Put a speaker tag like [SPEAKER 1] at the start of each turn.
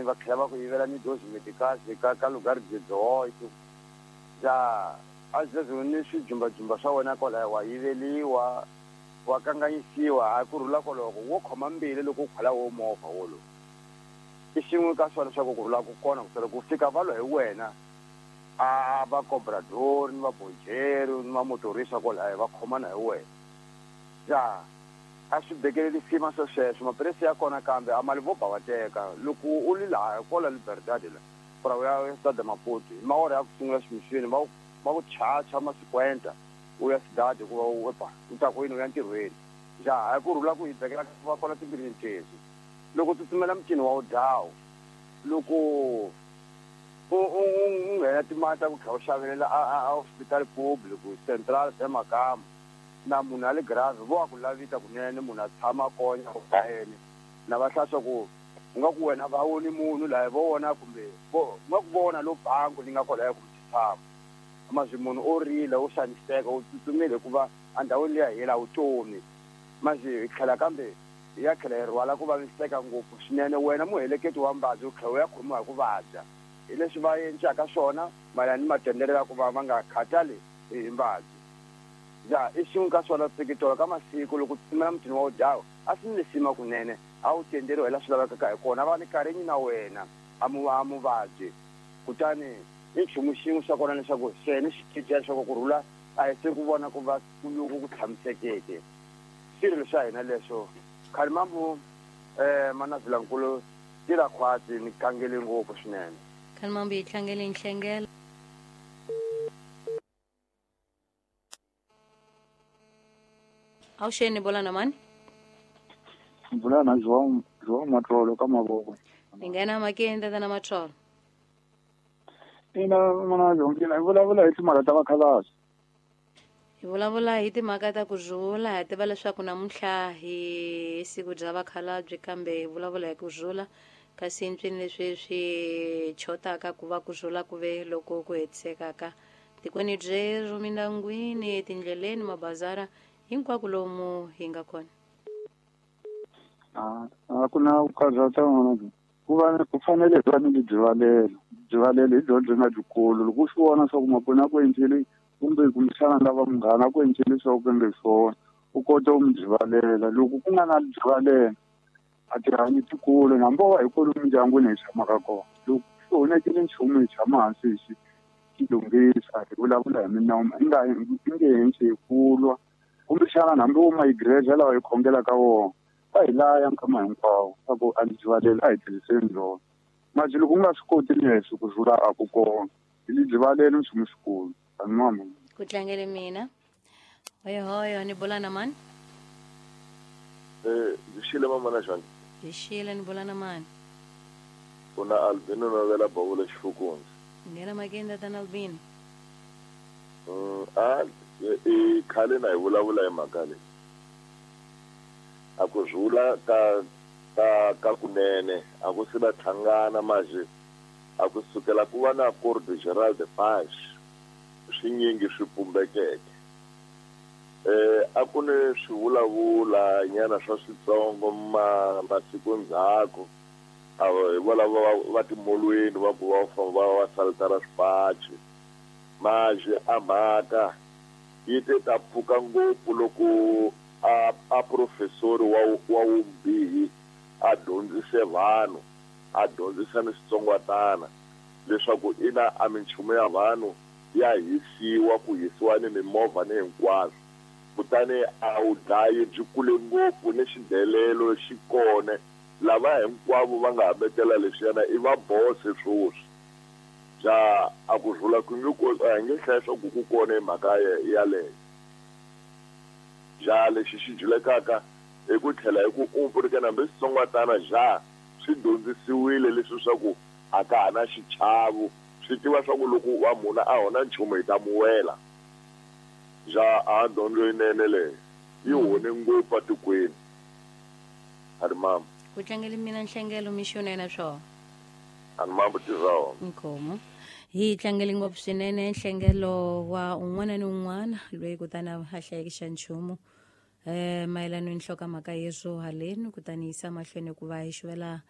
[SPEAKER 1] Va tlhela va ku yivela ni dozi medicals ka lugar de 18 ja a sweswo ni swijumbajumba swa wena kwalaya wa yiveliwa wa kanganyisiwa hayi ku rhula koloko wo khoma mbili loko u khwela wo movha wolowo i xin'we ka swona swa ku ku rhula ku kona ku sala ku fika va lwa hi wena a va cobrador ni va bojero ni va motorisa kwalaya va khomana hi wena ja a swi bekeleli sima swo sweswo maphilisi ya kona kambe a mali vo ba va teka loko u li laha kwala Liberdade la pra u ya Stade Maputo hi maora ya ku sungula ximixini va ku chacha ma-50 u ya Cidade hikuva u ba u ta kwini u ya ntirhweni ja hayi ku rhula ku hi bekela va kwala timbilwini tezu loko u tsutsumela mutini wa wudawu loko u nghena timali ta ku tlhela u xavelela a hospital public central Semakama na munhu a le grave vo a ku lavita kunene munhu a tshama konya u dlayeni na va hlaya swa ku u nga ku wena va woni munhu laha vo vona kumbe vo nga ku vona lo bangi li nga kwalaya kumbe tshama mazwi munhu o rila o xaniseka u tsutsumile hikuva endhawini liya hela vutomi mazwi hi tlhela kambe hi ya tlhela hi rhwala ku vaviseka ngopfu swinene wena muheleketi wa mbabyi u tlhela u ya khomiwa hi ku vabya hi leswi va encaka swona mayelana ni matendelo ya ku va va nga khathali hi mbabyi ja i xin'we ka swona tsikitolo ka masiku loko tsutsumela mutini wa wudyawo a swi ni lisima kunene a wu tenderiwa hi laha swi lavekaka hi kona va ni karhi na wena a muvabyi kutani i nchumu xin'we xa kona leswaku xene xi cinca leswaku ku rhula a hi se ku vona ku va loku ku tshamisekeke swilo swa hina leswo Khalimambu Manavilankulu tira khwatsi ni kangele ngopfu swinene
[SPEAKER 2] Khalimambu yi tlangele nhlengelo Awuxeni bola na mani?
[SPEAKER 3] Bula na João João Matrolo ka mavoko.
[SPEAKER 2] Ni nghena makeni tata Matrolo.
[SPEAKER 3] Ina mana Jonkina hi vulavula hi timhaka ta vakhalabye.
[SPEAKER 2] Hi vulavula hi timhaka ta ku rhula hi tiva leswaku namuntlha hi siku bya vakhalabye kambe hi vulavula hi ku rhula kasi ntswini leswi swi chotaka ku va ku rhula ku ve loko ku hetisekaka tikweni byerhu mindyangwini etindleleni mabazara hinkwako lomu hi nga kona.
[SPEAKER 3] A ku na ku karhata n'wana ku va ku fanele hi va ni byivalelo byivalelo hi byona byi nga byikulu loko u swi vona swa ku makwenu a ku endleli kumbe kumbexana lava munghana a ku endleli swa ku nge swona u kota ku mi byivalela loko ku nga na byivalela a tihanyi tikulu hambi wo va hi kwalomu mindyangwini hi tshamaka kona loko swi onhakile nchumu hi tshama hansi hi xi lunghisa hi vulavula hi minawu i nga i nge henhli hi ku lwa kumbexana hambi wo mayigireja lawa hi khongelaka wona va hi laya nkama hinkwawo swa ku a byivaleli a hi tirhiseni byona manje loko u nga swi koti leswi ku rhula a ku kona hi byivaleli nchumu xikulu an'wana
[SPEAKER 2] ku tlangele mina hoyohoyo ni bula na mani
[SPEAKER 4] Ndzi xile mama na xana
[SPEAKER 2] hi xile ni bula na mani
[SPEAKER 4] u na Albino novela bavula xifukundzi
[SPEAKER 2] nghena makeni tatana Albino
[SPEAKER 4] a i khale na hi vulavula hi mhaka leyi a ku rhula ka kunene a ku se va tlhangana maje a ku sukela ku va na Accord General de Paz swinyingi swi pumbekeke a ku ni swivulavula nyana swa switsongo masiku ndzhaku hi volavo va timolweni va ku va famba va saltara swipachi maje a mhaka yi te ta pfuka ngopfu loko a professori wa wumbihi a dyondzise vanhu a dyondzisa ni switsongwatana leswaku ina a minchumu ya vanhu ya hisiwa ku hisiwa ni mimovha ni hinkwaswo kutani a wu dlayi byi kule ngopfu ni xidelelo xi kone lava hinkwavo va nga hambetela leswiyana i va bose swoswi bya a ku rhula ku nge a hi nge hlaya swa ku ku kona hi mhaka yaleyo ja lexi xi julekaka hi ku tlhela hi ku umpurikana hambi switsongwatana ja swi dyondzisiwile leswi swa ku a ka ha na xichavo swi tiva swa ku loko wa munhu a hona nchumu hi ta muwela ja a dyondzo yinene leyi yi hone ngopfu atikweni a ri mama
[SPEAKER 2] ku tlangele mina nhlengelo mixo na swona
[SPEAKER 4] a ni mambo tirha
[SPEAKER 2] nkomo hi tlangele ngopfu swinene nhlengelo wa un'wana ni un'wana loyi kutani a hlayeke xa nchumu mayelana ni nhlokomhaka yeswo haleni kutani yisa mahlweni ku va hi xivela